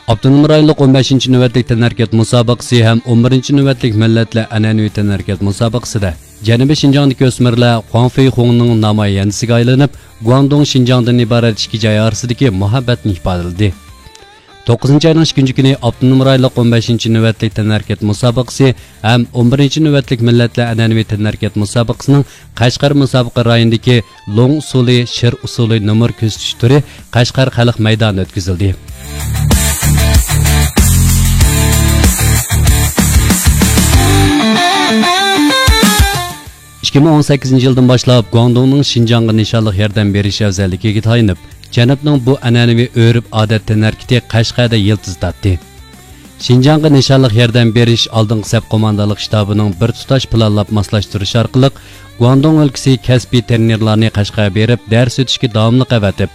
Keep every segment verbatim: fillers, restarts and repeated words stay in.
ئاپتونوم رايونلۇق ئون بەشىنچى نۆۋەتلىك تەنھەرىكەت مۇسابىقىسى ھەم ئون بىرىنچى نۆۋەتلىك مىللەتلەر ئەنئەنىۋى تەنھەرىكەت مۇسابىقىسىدە جەنۇبىي شىنجاڭدىكى ئۆسمۈرلەر خۇاڭفېيخۇڭنىڭ نامايەندىسىگە ئايلىنىپ، گۇاڭدۇڭ شىنجاڭدىن ئىبارەت ئىككى جاي ئارىسىدىكى مۇھەببەتنى ئىپادىلىدى. توققۇزىنچى ئاينىڭ ئىككىنچى كۈنى ئاپتونوم رايونلۇق ئون بەشىنچى نۆۋەتلىك تەنھەرىكەت مۇسابىقىسى ھەم ئون بىرىنچى نۆۋەتلىك مىللەتلەر ئەنئەنىۋى تەنھەرىكەت مۇسابىقىسىنىڭ قەشقەر مۇسابىقە رايونىدىكى لوڭ ئۇسسۇلى، شىر ئۇسسۇلى نومۇر كۆرسىتىش تۈرى قەشقەر خەلق مەيدانىدا ئۆتكۈزۈلدى. ئىككى مىڭ ئون سەككىزىنچى يىلدىن باشلاپ گۇاڭدۇڭنىڭ شىنجاڭغا نىشانلىق ياردەم بېرىش ئەۋزەللىكىگە تايىنىپ، جەنۇبنىڭ بۇ ئەنئەنىۋى ئۆرپ-ئادەت تەنھەرىكىتى قەشقەردە يىلتىز تارتتى. شىنجاڭغا نىشانلىق ياردەم بېرىش ئالدىنقى سەپ قوماندانلىق شتابىنىڭ بىر تۇتاش پىلانلاپ ماسلاشتۇرۇش ئارقىلىق، گۇاندۇڭ ئۆلكىسى كەسپىي تېرنېرلارنى قەشقەرگە بېرىپ دەرس ئۆتۈشكە داۋاملىق ئەۋەتىپ،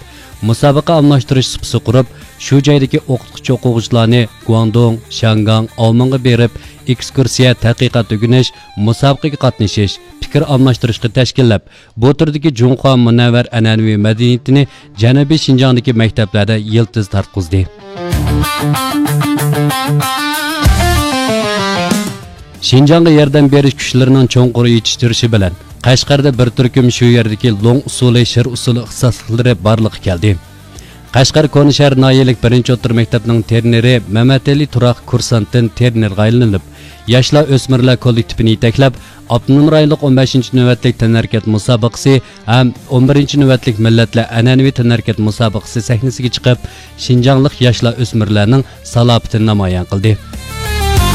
مۇسابىقە ئالماشتۇرۇش سۇپىسى قۇرۇپ، شۇ جايدىكى ئوقۇتقۇچى-ئوقۇغۇچىلارنى گۇاندۇڭ، شياڭگاڭ، ئاۋمېنغا بېرىپ، ئېكسكۇرسىيە، تەتقىقات ئۆگىنىش، مۇسابىقىگە قاتنىشىش، پىكىر ئالماشتۇرۇشقا تەشكىللەپ، بۇ تۈردىكى جۇڭخۇا مۇنەۋۋەر ئەنئەنىۋى مەدەنىيىتىنى جەنۇبىي شىنجاڭدىكى مەكتەپلەردە يىلتىز تارتقۇزدى. شىنجاڭغا ياردەم بېرىش كۈچلىرىنىڭ چوڭقۇر يېتىشتۈرۈشى بىلەن، قەشقەردە بىر تۈركۈم شۇ يەردىكى لوڭ ئۇسسۇلى، شىر ئۇسسۇلى ئىختىساسلىقلىرى بارلىققا كەلدى. قەشقەر كونىشەھەر ناھىيەلىك بىرىنچى ئوتتۇرا مەكتەپنىڭ تېرنېرى مەمەتئېلى تۇراق كۇرسانتتىن تېرنېرغا ئايلىنىپ، ياشلار ئۆسمۈرلەر كوللېكتىپىنى يېتەكلەپ، ئاپتونوم رايونلۇق ئون بەشىنچى نۆۋەتلىك تەنھەرىكەت مۇسابىقىسى ھەم ئون بىرىنچى نۆۋەتلىك مىللەتلەر ئەنئەنىۋى تەنھەرىكەت مۇسابىقىسى سەھنىسىگە چىقىپ، شىنجاڭلىق ياشلار ئۆسمۈرلەرنىڭ سالاپىتىنى نامايان قىلدى.